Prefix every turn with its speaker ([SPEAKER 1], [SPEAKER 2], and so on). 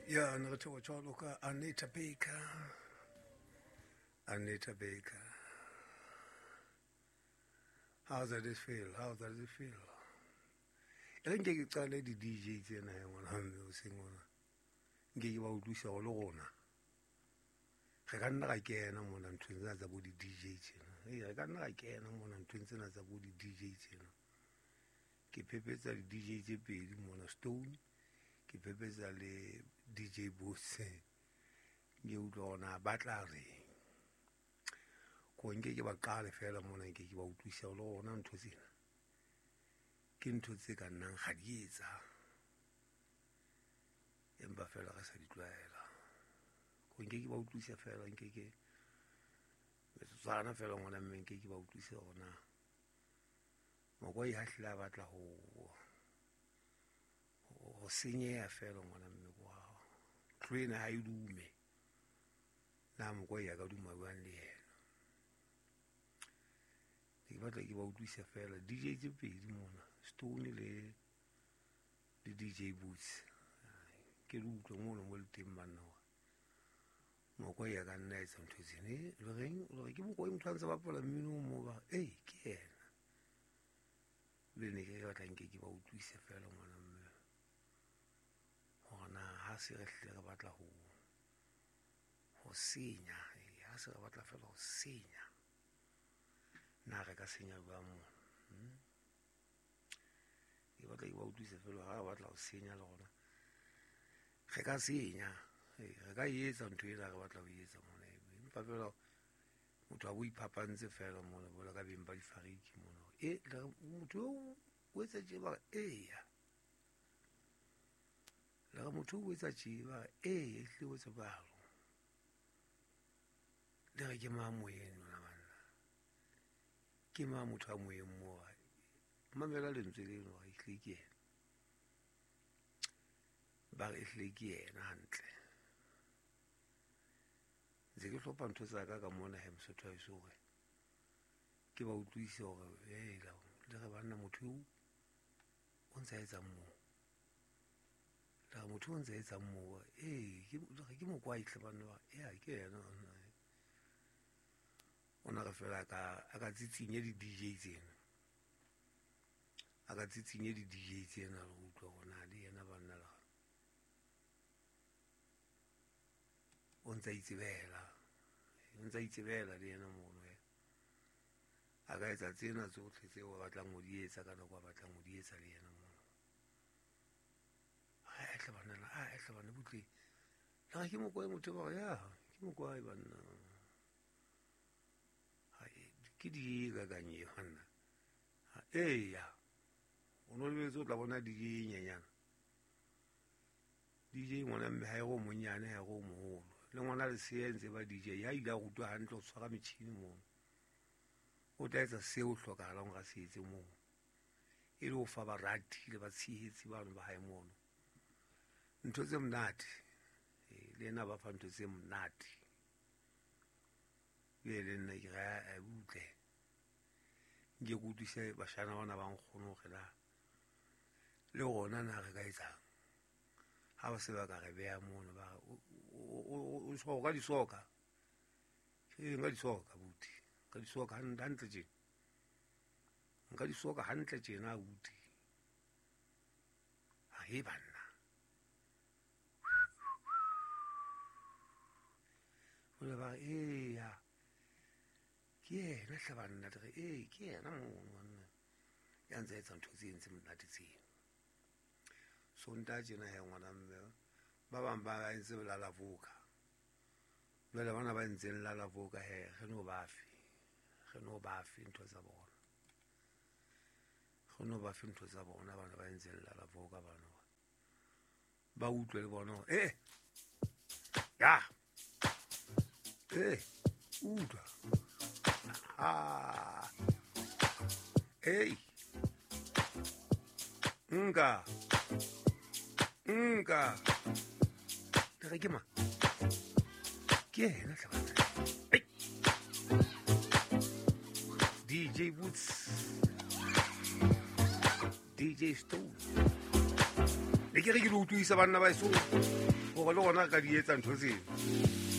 [SPEAKER 1] Ya ne re theoha jwalo ka Anita Baker. Anita Baker. How does it feel? How does it feel? E re nke ke qale di-DJ tsena he ngwana mme hoseng hona. Nke ke ba utlwisa hore le rona re ka nna ra kena mona nthong tsena tsa bo di-DJ tjena. Ee, re ka nna ra kena mona nthong tsena tsa bo di-DJ tjena. Ke phephetsa di-DJ tse pedi mona Stone, ke phephetsa le DJ Bose. Nke utlwa hore na ba tla reng. Ko nke ke ba qale feela mona nke ke ba utlwisa hore le rona ntho tsena ke ntho tse ka nnang ga di etsa, empa feela re sa di tlwaela. Ko nke ke ba utlwisa feela, nke ke metsotswana feela ngwana mme nke ke ba utlwise hore na Mokwai ha hlile a batla ho senyeha feela ngwana mme kwa ntlo ena ha e dume, na Mokwai a ka duma jwang le yena. Ke batla ke ba utlwise feela DJ tse pedi mona, Stone le DJ Boots. Ke le utlwe mono mo le teng banna hore Mokwai a ka nna etsa ntho tsena. Le reng? Le re ke Mokwai motho a ntse bapala mmino mo ba, ee ke yena. Le ne ke batla nke ke ba utlwise feela ngwana mme hore na ha se re hlile re batla ho senya, ha se re batla feela ho senya, na re ka senya jwang mona? Ke batla ke ba utlwise feela ha re batla ho senya le rona re ka senya, re ka etsa ntho ena re batla ho etsa mona. Empa feela motho a bo iphapantse feela mona jwalo ka beng ba difariki mona. E motho eo o etsa tje ba re eya. Le re motho o etsa tje ba re ee, ehlile o etsa jwalo. Le re ke mang moyeng lona banna? Ke mang motho a moyeng moo? Mamela lentswe leno hore ehlile ke yena. Ba re ehlile ke yena hantle. Ntse ke hlopha ntho tsa ka ka mona he Mosotho wa heso hore ke ba utlwise hore hela le re banna motho eo o ntsa etsang moo. Le re motho o ntsa etsang moo, ee ke Mokwai hle banna ba, ya ke yena. Ona re feela a ka tsitsinye di-DJ tsena. A ka tsitsinye di-DJ tsena re utlwa hore na le yena banna le o ntsa itsebela, o ntsa itsebela le yena mono. A ka etsa tsena tsohle tseo a batlang ho di etsa ka nako a batlang ho di etsa le yena mono. A hle banna, a hle banna butle. Le re ke Mokwai motho ba re ya, ke Mokwai banna. Ke di ka kang e banna. Eya. O no lebetse o tla bona DJ e nyenyana. DJ ngwana mme ha e go monyane ha e go moholo. Le ngwana lesea ntse ba DJ ya ile a rutwa hantle ho tshwara metjhini mono. O tla etsa seo hlokahalang hore a se etse moo. E le ho fa barati le batshehetsi bano ba hae mono ntho tse monate. Le yena ba fa ntho tse monate. Le le nna ke re a butle. Nke ke utlwise bashana bana ba nkgono hore na le rona na re ka etsang. Ha ba se ba ka re beha mono ba o so ka disoka. Ke nka disoka buti. Nka disoka hantle tjena. Nka disoka hantle tjena abuti. Ha e banna. Jwale ba re eya. Ke yena hle banna, re ee ke yena mono banna. Ya ntse etsa ntho tse entse monate tseno. Sontaha tjena he ngwana mme ba bang ba entse lala voka. Jwale bana ba entseng lala voka he re no ba fe. Re no ba fe ntho tsa bona. Re no ba fe ntho tsa bona bana ba entseng lala voka bana. Ba utlwe le bona eh ya. Eh utlwa. Ah. Hey. Nka. Nka. Le re ke mang? Ke yena hle banna. Hey. DJ Boots. DJ Stone. Ne ke re ke le utlwisa banna ba eso gore le gona re ka di etsa ntho tseno.